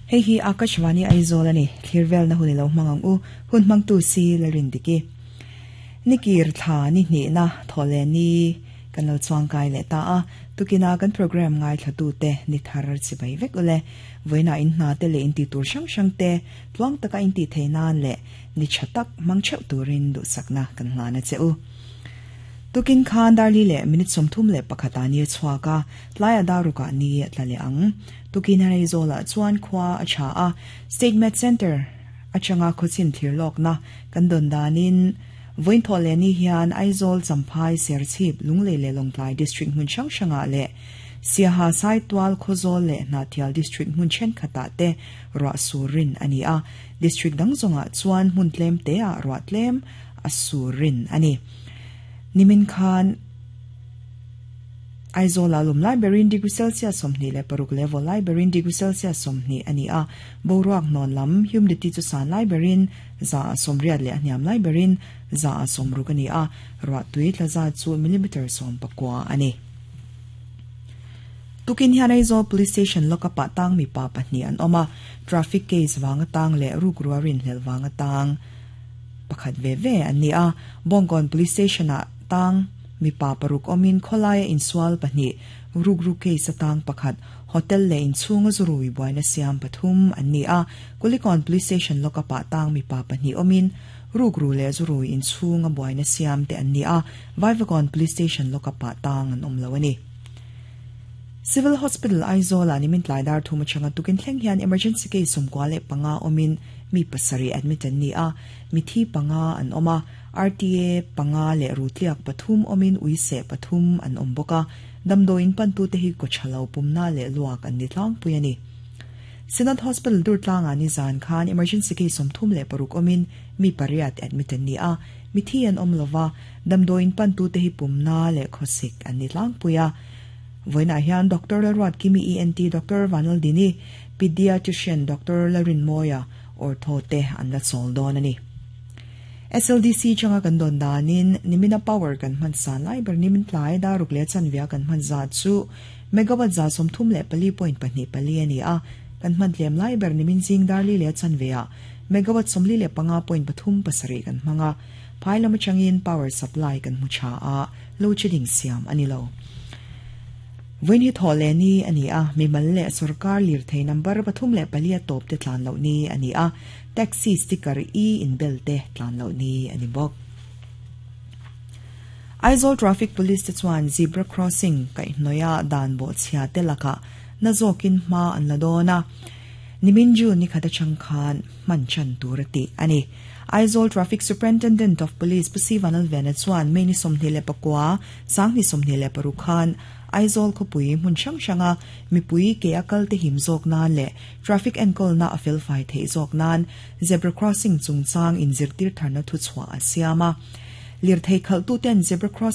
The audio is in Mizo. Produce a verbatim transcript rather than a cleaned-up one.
Hei hi Akashvani Aizawl ani thirvel na hunilo mangang u hun mangtu si larin diki nikir thla ni hni na thole ni kan lo chuang kai le ta a tukina kan program ngai thlatu te ni thar chi bai vek ule voina in hna te le in ti tur sang sang te tluang taka in ti theinan le ni chatak mang cheu turin du sakna kan hlana che u tukin khan darli le minute somthum le pakhata ni chhuaka tlaya daruka ni tlale ang tukin harai zola chuan khwa acha a State Med Center achanga khochin thirlok na kan don danin voin thole ni hian Aizawl Champhai Serchhip Lunglei le Lawngtlai district hmun hrang hranga le Siaha Saitual Khawzawl le Hnahthial district hmun thenkhatah te ruah surin ani a district dang zawngah chuan hmun tlem te ah ruah tlem a surin ani nimin khan Aizawl a lum lai berin degree Celsius sawmhnih leh paruk level lai berin degree Celsius sawmhnih ani a boruak hnawn lam humidity chu san lai berin za a sawmriat leh a hniam lai berin za a sawmruk ani a ruah tui tla zat chu millimeter sawm pakua ani tukin hian Aizawl Police Station lockup ah tang mipa pahnih an awm a traffic case wanga tang leh ruk ruarin hlel wanga tang pakhat ve ve an ni a Bawngkawn Police Station ah tang mipa paruk awmin khawlaia insual pahnih ruk ruk case atang pakhat hotel le inchhunga zurui buaina siam pathum an ni a Kulikawn Police Station lockup ah tang mipa pahnih awmin ruk ru le zurui inchhunga buaina siam te an ni a Vaivakawn Police Station lockup ah tang an awm lo ani Civil Hospital Aizawl ah nimin tlai dar thum atanga tukin thleng hian emergency case sawmkua leh panga awmin mi pasarih admit an ni a mithi panga an awm a R T A panga leh rutliak pathum awmin uise pathum an awm bawk a damdawiin pantu te hi kawthalo pumna leh luak an ni tlangpui ani Synod Hospital Durtlanga ni zan khan emergency case sawmthum leh paruk awmin mi pariat admit an ni a mithi an awm lova damdawiin pantu te hi pumna leh khawsik an ni tlangpui a voina hian Doctor Lalruat Kimi E N T Doctor Vanaldini pediatrician Doctor Larin Moya ortho te an la chawl dawn ani S L D C changa kan don danin nimina power kan hman san lai ber nimin tlai daruk le chanvia kan hman za chu megawatt za sawmthum leh pali point pahnih pali ani a kan hman tlem lai ber nimin zing darli le chanvia megawatt sawmli leh panga point pathum pasarih kan hmanga phai lama changin power supply kan hmu tha a load shedding siam ani lo voin hi thawle ni ani a mimal le sarkar lir thei number pathum leh pali a top te tlan lo ni ani a taxi sticker e in bel te tlan lo ni ani bawk Aizawl Traffic Police te chuan zebra crossing kai hnoia dan bo chhia te laka na zawkin hma an la dawn a nimin June ni khata chang khan man chan tur ati ani Aizawl Traffic Superintendent of Police Pusi Vanal Vena chuan mei ni sawmhnih leh pakua sangni sawmhnih leh paruk khan Aizawl khawpui hmun hrang hranga mipui ke a kal te him zawk nan leh traffic enkawl na a fel fai theih zawk nan zebra crossing chungchang in zirtir tharna thu chhuah a siam a lir thei khalh tu ten zebra crossing